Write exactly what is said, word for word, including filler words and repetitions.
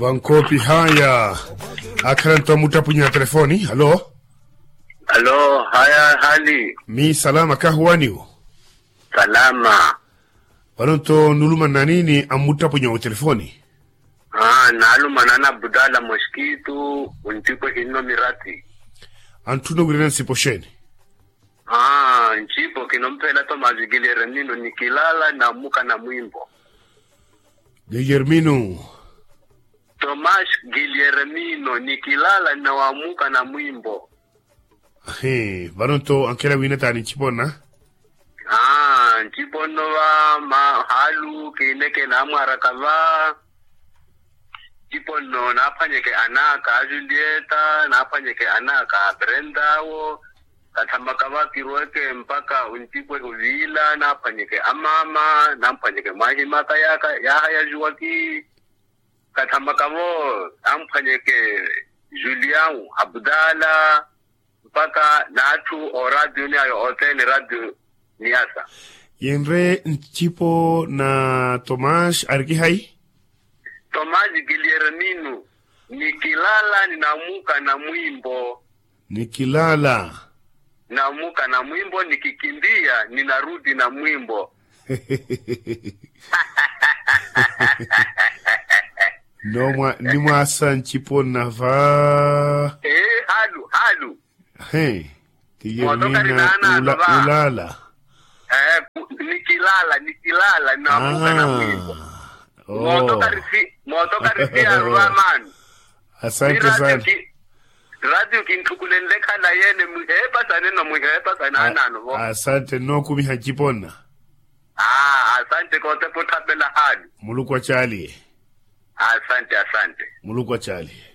Wankoopi haya. Akhala nto amuttapunya telefoni. Halo. Halo, haya hali? Mi salama kahuwaniwo. Salama. Vano nto nulumana nini amuttapunya otelefoni? Naalumana na abudala moskitu. Ontipwe kinno mirati. Antthuna wirina nsipo xeeni? Aa ncipo kinomphela tomasi kiliyeremino nikilala na mukana mwimbo. Kiliyeremino. Tomasi kiliyeremino nikilala na mukana mwimbo. Ahi. Vano nto ankhela wina taani ncipona? Aa nciponno va mahalu kiineke naamwaraka va. Nciponno naaphwanyeke anaka a julieta naaphwanyeke anaka a brenda awo. Kathamaka va kirweke mpaka ontipwe oviila naaphwanyeke amaama naaphwanyeke mwaahimaka yaaka yaaha ya juwaki. Kathamaka vo amphwanyeke julian abudala mpaka n'atthu oraatiyo ni ayo othene raatiyo ni asa. Yenre ncipo na tomas arikihayi? Tomas kiliyeremino nikilala ni namuka na mwimbo. Nikilala. Namuka na mwimbo nikikimbiya ni naruti na mwimbo. Nomwa nimwasa ncipo nava. Ee halu halu. He. Tiye mina ulaala. Nikilala nikilala namuka na mwimbo. Mooto karisi mooto karisi aruva maano. Asante sana. Ratio kinthukulenle khalayi ene mwiheepasane no mwiheepasane anaano vo. Asante nnookumiha nciponna. Aa asante kootepa otthapela haali. Muluku acaaliye. Asante asante. Muluku acaaliye.